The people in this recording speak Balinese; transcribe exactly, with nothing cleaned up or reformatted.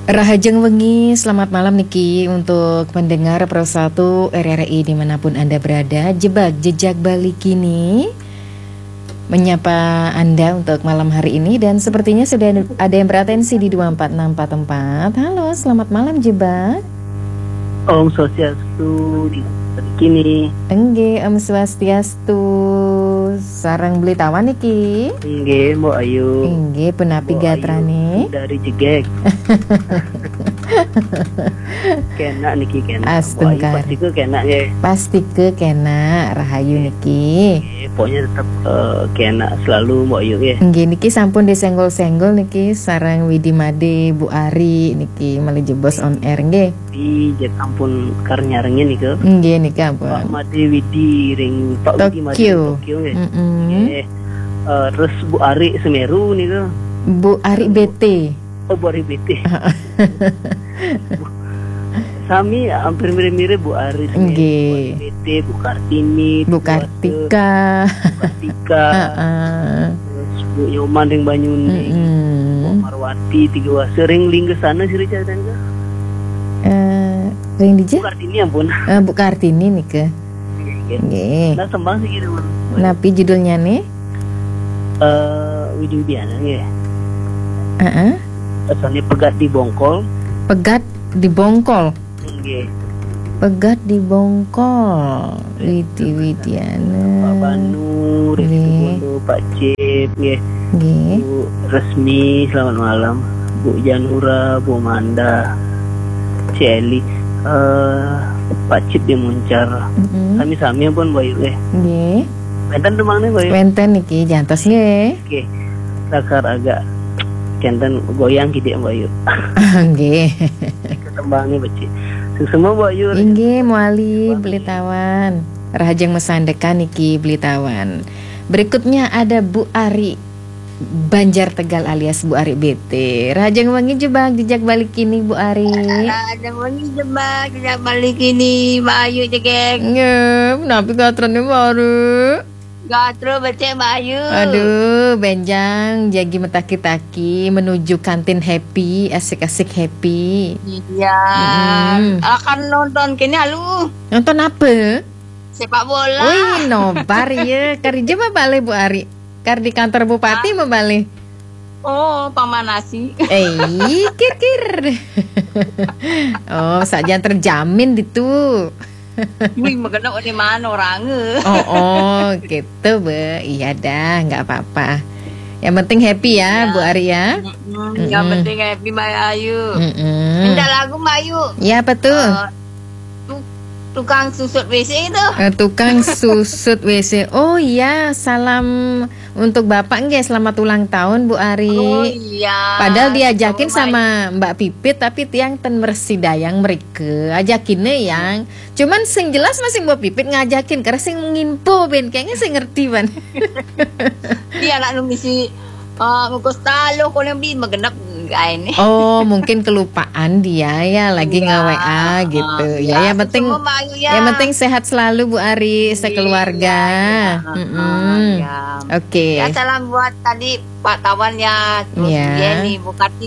Rahajeng wengi, selamat malam niki untuk pendengar Pro satu R R I dimanapun Anda berada. Jebak Jejak Bali Kini menyapa Anda untuk malam hari ini, dan sepertinya sudah ada yang beratensi di dua empat enam empat empat. Halo, selamat malam Jebak. Om Swastiastu, di kini. Enggih, Om Swastiastu. Sareng Beli Tawan niki. Enggih, Mbok Ayu. Enggih, punapi Mbok gatrane? Ayu dari Jegek. Kenak niki, kenak. Mbok Ayu Astungkara. Pasti ke kenak nggih. Pasti ke kenak, rahayu niki. Nggih, pokoknya tetap eh, kenak selalu Mbok Ayu nggih. Enggih, niki sampun disenggol-senggol niki sareng Widi Made, Bu Ari niki malih jebos on air nggih. Di jet ampun kar nyarengin nika. Enggih niki Pak ampun. Made Widi ring Pak Widi Made Tokyo. ring Tokyo nggih. Mm-mm. Nggih. Eh, terus Bu Ari Semeru nika. Bu Ari B T. Oh, Bu Ari B T. Sami hampir mirip-mirip Bu Ari. Nggih. Bu Ari B T, Bu Kartini, Bu Wate, Kartika. Bu Kartika. Heeh. Terus Bu Nyoman ring Banyuning. Mm-mm. Bu Marwati, Tiga Wase ring Lingga sana sih Richard kan. Eh, ring dija? Bu Kartini ampun. Eh, Bu Kartini nika. Nggih. Nggih. Nah, tembang sih gitu. Napi judulnya nih? Eh, Widi Widiana nggih. Heeh. Asalnya Pegat di Bongkol. Pegat di Bongkol. Nggih. Pegat di Bongkol. Widi Widiana. Pak Banu, Rizky Nggih. Bondo, Pak Cip, nggih. Nggih. Bu Resmi, selamat malam. Bu Janura, Bu Manda, Cik Eli, eh, Pak Cip di Muncar. Mm-mm. Sami-sami pun Mbok Ayu nggih. Nggih. Wenten tembang nih Mbok Ayu. Wenten niki jantos nggih. Oke. Lakar agak kenten goyang kidik Mbok Ayu. Nggih. Ketembangnya becik. Suksma Mbok Ayu. Inggih, muali Beli Tawan. Rahajeng masandekan niki Beli Tawan. Berikutnya ada Bu Ari Banjar Tegal alias Bu Ari B T. Rahajeng wengi Jebak Jejak Bali Kini Bu Ari. Rahajeng wengi Jebak Jejak Bali Kini, Mbok Ayu Jegek. Nggih, napi gatrane Mbok Ari? Gatra becik Mbok Ayu. Aduh, benjang jagi metaki-taki menuju kantin happy, asik-asik happy. Iya. Mm-mm. Akan nonton kene alu. Nonton apa? Sepak bola. Wih, nobar ya. Kari jema balik Bu Ari. Kar di kantor bupati mau balik. Oh, pamanasi. Eh, kir-kir. Oh, saja terjamin ditu. Wih, magenep di mana orang? Oh, oh, gitu, Bu. Iya dah, nggak apa-apa. Yang penting happy ya, Bu Ari ya. Mm-mm, yang penting happy Mbok Ayu. Mm-mm. Minta lagu Mbok Ayu. Ya, apa tuh? Eh, tu- tukang susut W C itu. Eh, tukang susut W C. Oh iya, salam untuk Bapak nggih, selamat ulang tahun Bu Ari. Oh iya. Padahal diajakin Sama sama Mbak Pipit, tapi tiang ten mersidayang mereka. Ajakinnya yang. Cuman sing jelas masih Mbak Pipit ngajakin, karena sing nginpo ben, kayaknya sing ngerti ban. Dia anak nu misi eh ngukus taluh kono bi magenep gaene. Oh, mungkin kelupaan dia ya, lagi Iya. nge-W A gitu. Ah, Ya, yang penting semua Mbok Ayu ya. yang penting sehat selalu Bu Ari sekeluarga. Iya, iya. Mm-mm. Ah, iya. Oke. Ya, salam buat tadi Pak Tawan ya, terus Iya. Yeni, Bu Kartini.